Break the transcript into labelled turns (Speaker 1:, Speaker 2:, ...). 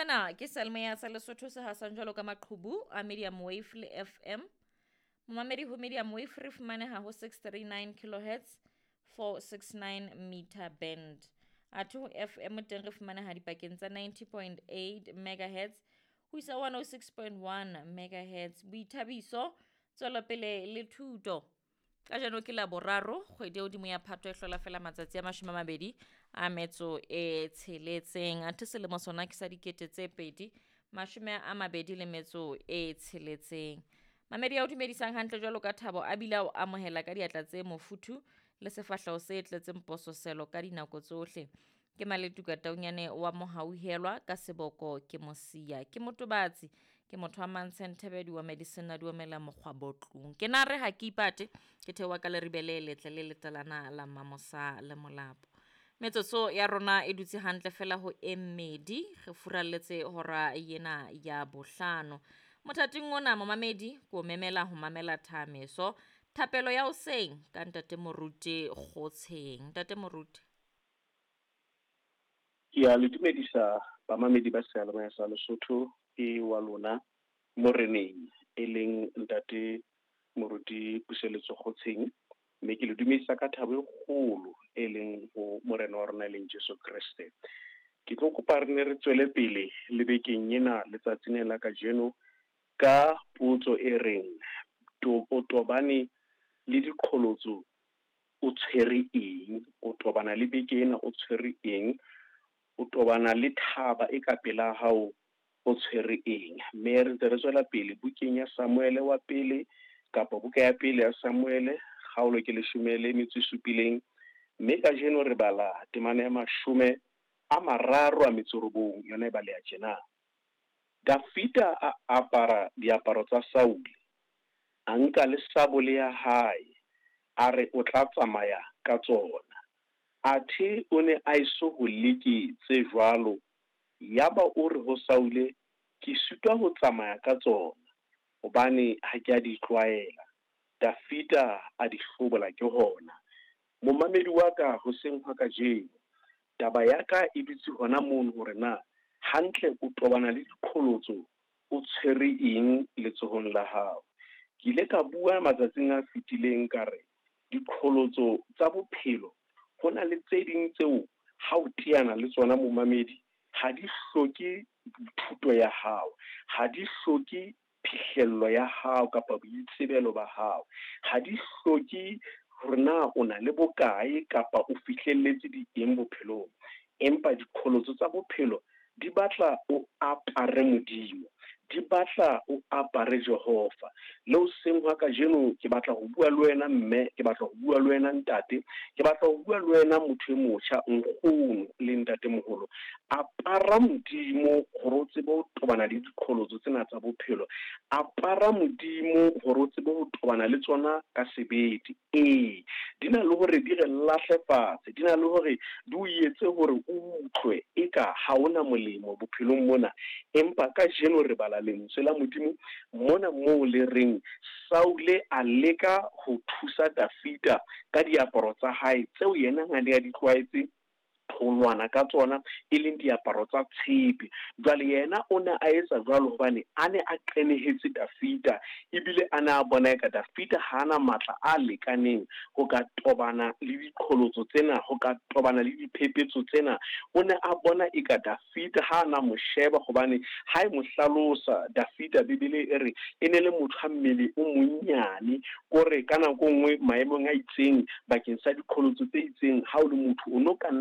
Speaker 1: Sena ke seyalemoya sa Lesotho se hasang jwalo ka maqhubu a medium wave le FM. Momamedi ho medium wave re fumaneha ho 639 kilohertz 469 meter band. Athe ho FM teng re fumaneha dipakeng tsa 90.8 megahertz ho isa 106.1 megahertz. Boithabiso, tswelopele le thuto. Kajeno ke la boraro kgwedi ya hodimo ya Phato e hlola fela matsatsi a 26. Athe selemo sona ke sa 2026. Mamedi ya o dumedisang hantle jwalo ka thabo a bile a o amohela ka diatla tse mofuthu le sefahleho se tletseng pososelo ka dinako tsohle. Ke Maletuka Taunyane wa Mohauhelwa ka seboko ke Mosia. Ke motobatsi, ke motho wa Mantshe Thebedi wa Medicine duomela mokgwa botlung. Ke na re ha ke ipate, ke theoha ka leribe le letle le letalana la Mamosa le Molapo. Metsotso ya rona e dutse hantle fela ho e mmedi, re furalletse hora ena ya bohlano. Mothating ona momamedi ko memela ho mamela thameso. Thapelo ya hoseng ka ntate Moruti Kgotsheng. Ntate Moruti.
Speaker 2: Ke a le dumedisa bamamedi ba seyalemoya sa Lesotho ke wa lona moreneng e leng ntate Moruti Puseletso Kgotsheng, mme ke le dumedisa ka thabo e kgolo e leng ho morena wa rona e leng Jesu Kreste. Ke tlo kopa re ne re tswele pele le bekeng ena letsatsing la kajeno ka potso e reng o tobane le diqholotso o tshwere eng, o tobana le beke ena o tshwere eng, o tobana le thaba e ka pela hao o tshwere eng. Mme re ntse re tswela pele bukeng ya Samuele wa pele kapa buka ya pele ya Samuele kgaolo ke 17, mme kajeno re bala temana ya 39 yona e baleha tjena. Dafida a apara diaparo tsa Saule, a nka le sabole ya hae, a re o tla tsamaya ka tsona. Athe o ne a eso ho leke tse jwalo, yaba o re ho Saule, ke sitwa ho tsamaya ka tsona, hobane ha ke a di tlwaela. Dafida a di hlobola ke hona. Momamedi wa ka hoseng hwa kajeno, taba ya ka e dutse hona mono hore na hantle o tobana le diqholotso o tshwere eng letsohong la hao. Ke ile ka bua matsatsing a fetileng ka re diqholotso tsa bophelo ho na le tse ding tseo ha o teana le tsona momamedi ha di hloke thuto ya hao, ha di hloke phihlello ya hao kapa boitsebelo ba hao, ha di hloke hore na o na le bokae kapa o fihlelletse di eng bophelong. Empa diqholotso tsa bophelo di batla o apare Modimo, di batla o apare Jehova. Le hoseng hwa kajeno ke batla ho bua le wena mme, ke batla ho bua le wena ntate, ke batla ho bua le wena motho e motjha, nkgono le ntatemoholo. Apara Modimo hore o tsebe ho tobana le diqholotso tsena tsa bophelo. Apara Modimo hore o tsebe ho tobana le tsona ka sebete. Ee, di na le hore di re lahle fatshe, di na le hore di o etse hore o utlwe eka ha ona molemo bophelong mona. Empa kajeno re bala lentswe la Modimo mona moo le reng Saule a leka ho thusa Dafida ka diaparo tsa hae tseo yena a ne a di tlwaetse ho lwana ka tsona, e leng diaparo tsa tshepe. Jwale yena o ne a etsa jwalo hobane a ne a qenehetse Dafida, ebile a ne a bona eka Dafida ha ana matla a lekaneng ho ka tobana le diqholotso tsena, ho ka tobana le diphephetso tsena. O ne a bona eka Dafida ha ana mo sheba, hobane ha e mo hlalosa Dafida, Bibele e re e ne le motho a mmele o monnyane, kore ka nako nngwe maemong a itseng bakeng sa diqholotso tse itseng, ha o le motho o no ka nna